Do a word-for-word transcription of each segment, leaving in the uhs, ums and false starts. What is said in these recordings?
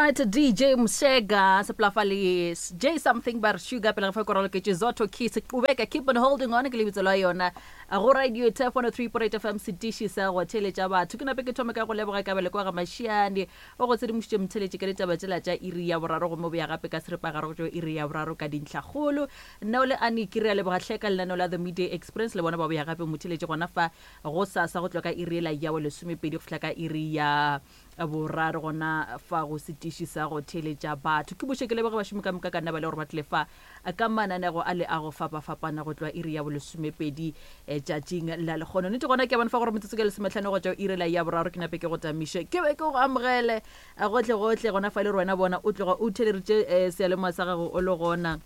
Alright, D J Msega seplafa le J something bar sugar pele ga fa korolo ke Zoto Kiss qubeka, keep on holding on ke lebitso la yona go Radio Turf one oh three point eight F M, setiši sa go theletša batho. Ke nape ke thome ka go leboga kabele kwa ga Mašiane o go tshedimošitše motheletše ka ditaba tšela tša iri ya boraro, gomme boya gape ka seripagare go tšwa iri ya boraro ka dintlhakgolo. Nna o le ane ke re a leboga hleka lenaneo la The Midday Experience le bona ba boya gape motheletše gona fa go sasa go tloga ka iri ela ya bo lesomepedi go fihla ka iri ya boraro gona fa go setiši sa go theletša batho. Ke buše ke leboge bašomi ka moka ka nna ba le gore ba tlile fa ka mananego a le a go fapafapana go tloga iri ya bolesomepedi eh, tšatšing la lekgono. Nnete gona ke a bona fa gore metsotso ke lesometlhano go tšwa iri la ya boraro. Ke nape ke go tamiše, ke be ke go amogele eh, gohle gohle gona fa e le gore wena bona o tloga o theleritše eh, seyalemoya sa gago o le gona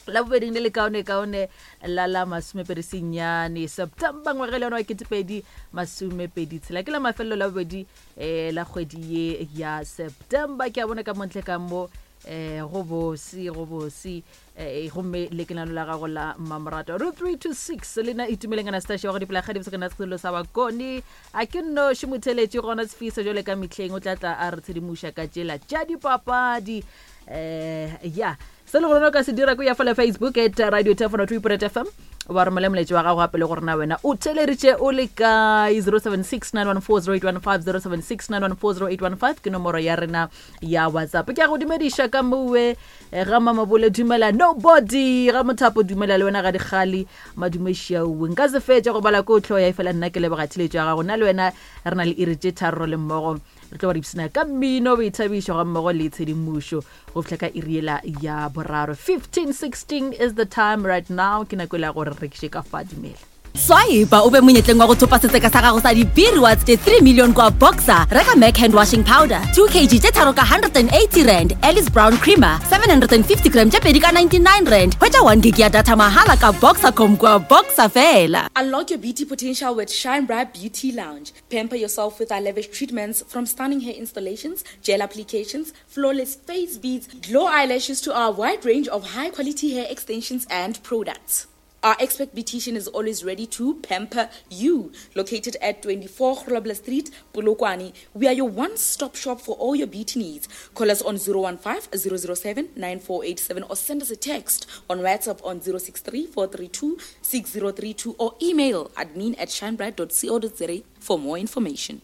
la bobeding le le kaone kaone la la masomepedi senyane September ngwage le yona wa ketepedi masomepedi tshela, ke la mafelelo la bobedi um la kgwedi ye ya September. Ke a bona ka montle ka mo um go bose, go bose um gomme le ke lano la gago la mmamorato ro three two six le na Itumeleng Anastasia wa go dipela kgadi bosakana selo sa bakone a ke nnoši motheletši gona Sefisa jale ka mehleng o tla tla a re tshedimoša ka tšela tša dipapadi. um ya se le gore o ka se dira ko ya fela Facebook at Radio Telefono three F M, wa romela moletši wa gago gape le gore na wena o theleritše o le kae. zero seven six nine one four zero eight one five, zero seven six nine one four zero eight one five ke nomoro ya rena ya WhatsApp. Ke a go dumediša ka mowe eh, ga Mamabole, dumela nobody ga Mothapo, dumela le wena ga Dikgale madumešaue. Nka se fetše go bala ko tlho ya e fela nna ke leboga theletšo ya gago. Nna le wena re na le iri tše tharo le mmogo re tlo ba re ipsina ka mmino, boithabišo ga mmogo le tshedimošo go fihla ka iri ela ya boraro. fifteen sixteen is the time right now, ke nako e la gore re rekiše ka fa dumela. Swipe o be monyetleng wa go thopa setseka sa gago sa di-B rewards tše three million kwa Boxer. Reka Mac hand washing powder two kilograms tše tharo ka one hundred and eighty rand, Alice Brown creamer seven hundred and fifty gram tše pedi ka ninety-nine rand. Hwetša one gig ya data mahala ka Boxercom kwa Boxer fela. Unlock your beauty potential with Shine Bright Beauty Lounge. Pamper yourself with our lavish treatments, from stunning hair installations, gel applications, flawless face beads, glow eyelashes to our wide range of high quality hair extensions and products. Our expert beautician is always ready to pamper you. Located at twenty-four Grobler Street, Polokwane, we are your one-stop shop for all your beauty needs. Call us on zero one five zero zero seven nine four eight seven or send us a text on WhatsApp on zero six three four three two six zero three two or email admin at shinebright dot co dot za for more information.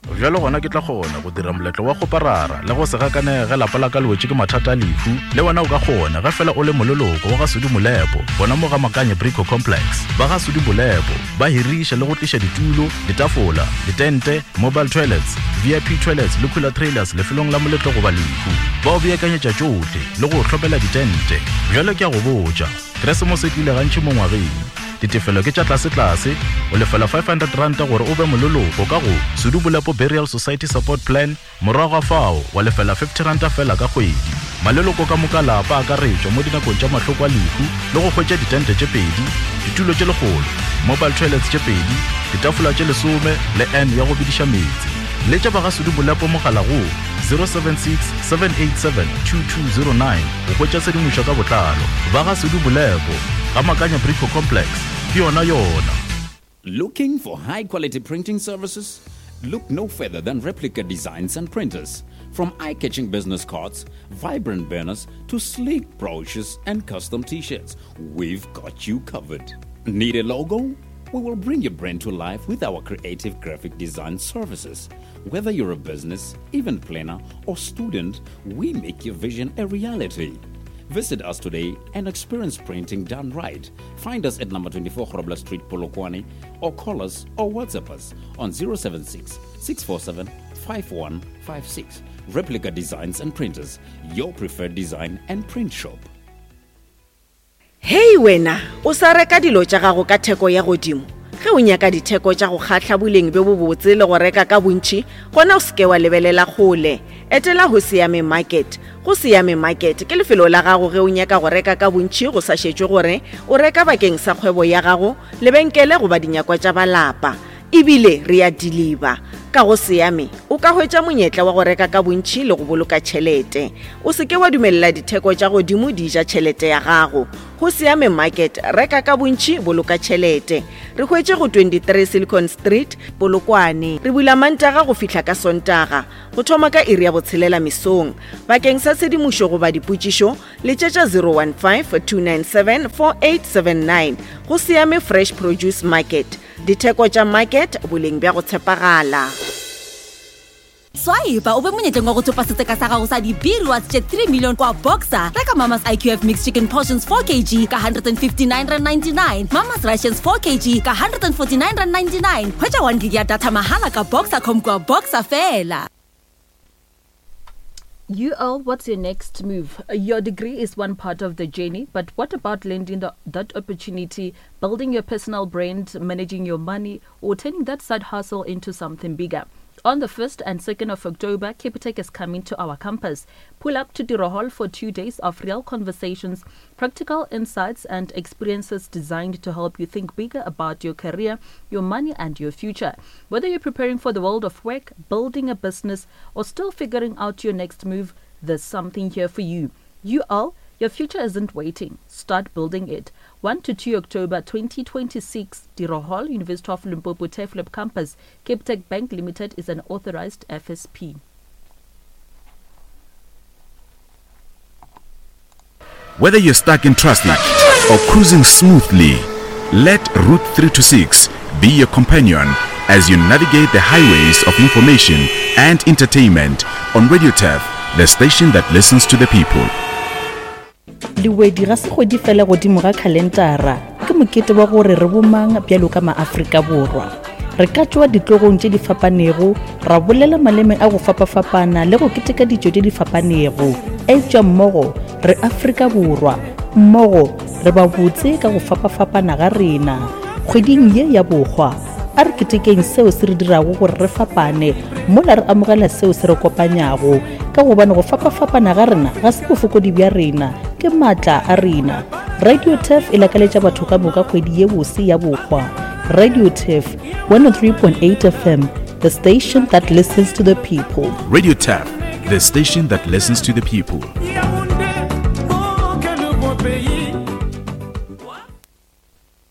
Bjalo gona ke tla kgona go dira moletlo wa kgoparara le go se gakanege ge lapa la ka le wetše ke mathata a lehu. Le wena o ka kgona ge fela o le moleloko wa ga Sudi Molepo gona mo ga Makanye Brico Complex. Ba ga Sudi Molepo ba hiriša le go tliša ditulo, ditafola, ditente, mobile toilets, V I P toilets le cooler trailers lefelong la moletlo goba lehu. Ba o beakanyetša tšohle le go hlopela ditente. Bjalo ke a go botša, Keresemose e tlile gantši mo ngwageng. Ditefelo ke tša tlase-tlase, o lefela five hundred rand gore o be moleloko ka go Sudu Bolepo Burial Society Support Plan, morago ga fao wa lefela fifty rand fela ka kgwedi. Maleloko ka moka lapa akaretšwa mo dinakong tša mahloko a lehu le go hwetša ditente tše pedi, ditulo tše lekgolo, mobile toilets tše pedi, ditafola tše lesome le n ya go bediša meetse. Letša ba ga Sudu Bolepo mogala go zero seven six seven eight seven two two zero nine go hwetša tshedimošo ka botlalo. Ba ga Sudu Bolepo ga Makanya Brico Complex ke yona yona. Looking for high quality printing services? Look no further than Replica Designs and Printers. From eye catching business cards, vibrant banners, to sleek brochures and custom t shirts, we've got you covered. Need a logo? We will bring your brand to life with our creative graphic design services. Whether you're a business, event planner, or student, we make your vision a reality. Visit us today and experience printing done right. Find us at number twenty-four Grobler Street, Polokwane, or call us or WhatsApp us on zero seven six six four seven five one five six. Replica Designs and Printers, your preferred design and print shop. Hei wena, o sa reka dilo tša gago ka theko ya godimo? Ge o nyaka ditheko tša go kgahla, boleng bjo bobotse le go reka ka bontši, gona o seke wa lebelela kgole. Etela go Siame Market. Go Siame Market ke lefelo la gago ge o nyaka go reka ka bontši, go sa šetšwe gore o reka bakeng sa kgwebo ya gago, lebenkele goba dinyakwa tša balapa. Ebile re ya deliver ka go Siame. O ka hwetša monyetla wa go reka ka bontši le go boloka tšhelete. O se ke wa dumelela ditheko tša godimo di ja tšhelete ya gago. Go Siame Market, reka ka bontši, boloka tšhelete. Re hwetše go twenty-three Silicon Street, Polokwane. Re bula Mantaga go fihla ka Sontaga, go thoma ka iri ya botshelela mesong. Bakeng sa tshedimošo goba dipotšišo, letšetša zero one five, two nine seven, four eight seven nine. Go Siame Fresh Produce Market. Ditheko tša market, boleng bja go tshepagala. Swipe o be monyetleng wa go thopa setseka sa gago sa di-B rewards tše three million kwa Boxer. Reka Mama's I Q F mixed chicken portions four kilograms ka hundred and fifty-nine rand ninety-nine, Mama's Rations four kilograms ka hundred and forty-nine rand ninety-nine. Hwetša one gig ya data mahala ka Boxer dot com kwa Boxer fela. U L, what's your next move? Your degree is one part of the journey, but what about landing the, that opportunity, building your personal brand, managing your money, or turning that side hustle into something bigger? On the first and second of October, Capitec is coming to our campus. Pull up to Tiro Hall for two days of real conversations, practical insights, and experiences designed to help you think bigger about your career, your money, and your future. Whether you're preparing for the world of work, building a business, or still figuring out your next move, there's something here for you. U L, your future isn't waiting. Start building it. one to two October twenty twenty-six, Tiro Hall, University of Limpopo Turfloop Campus. Capitec Bank Limited is an authorized F S P. Whether you're stuck in traffic or cruising smoothly, let Route three two six be your companion as you navigate the highways of information and entertainment on Radio Turf, the station that listens to the people. Lewedi ga se kgwedi fela godimo ga khalentara, ke mokete wa gore re bomang bjalo ka maAfrika Borwa. Re ka tšwa ditlogong tše di fapanego, ra bolela maleme a go fapafapana le go keteka ditšo tše di fapanego. Eupša mmogo re Afrika Borwa, mmogo re ba botse ka go fapafapana ga rena. Kgweding ye ya bokgwa, a re ketekeng seo se re dirago gore re fapane, mola re amogela seo se re kopanyago, ka gobane go fapafapana ga rena ga se bofokodi bja rena, ke maatla a rena. Radio Turf e lakaletša batho ka moka kgwedi ye bose ya bokgwa. Radio Turf one oh three point eight F M, the station that listens to the people. Radio Turf, the station that listens to the people.